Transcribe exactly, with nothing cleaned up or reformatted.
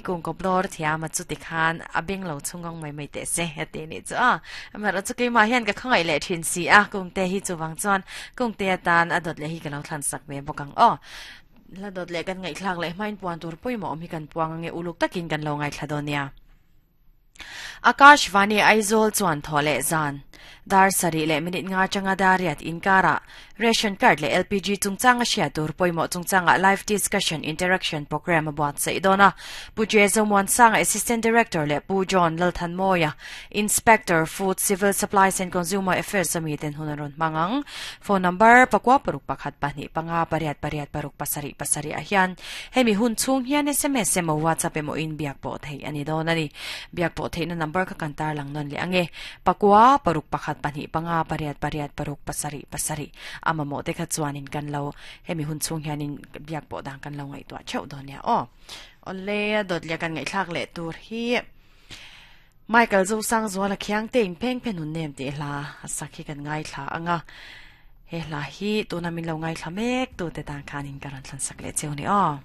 Kung ko blor thiam a chu ti khan a beng lo chungong mai mai te se heti ni chu a amar chu keima hian ka khangai le thin si a kung te hi chuwang chuan kung te atan a dot le hi ka lo thlan sak ve bawk ang aw la dot le kan ngai thlak le hmain puan tur pawimawh awm hi kan puang ange uluk takin kan lo ngai thla dawn nia. Akashvani Aizawl chuan thaw leh zan dar sarih leh minute nga changa dariat inkara ration card le L P G chungchanga hriat tur pawimawh chungchanga live discussion interaction program a buat saih dawn a. Pu Jezo Muansanga, Assistant Director, leh Pu John Lalthanmawia, Inspector, Food, Civil Supplies and Consumer Affairs ami ten hun an rawn hmang ang. Phone number pakua paruk pakhat pahnih panga pariat pariat paruk pasarih pasarih ah hian hemi hun chhung hian S M S emaw WhatsApp emaw in biak pawh theih ani dawn ani. Biak pawh theihna number kha kan tar lang nawn leh ange: pakua paruk pakhat pahnih panga pariat pariat paruk pasarih pasarih. Ama mo te kha chuanin kan lo hemi hun chhung hianin biak pawh dang kan lo ngaihtuah theuh dawn nia aw. Ole, dot le kan ngaihthlak leh tur hi Michael Zo Sang Zuala Khiang te in pheng phen hun nem te hla sak hi kan ngai thla anga. He hla hi tuna min lo ngai thla mek tu te tan khanin karan thlan sak le cheu ni aw.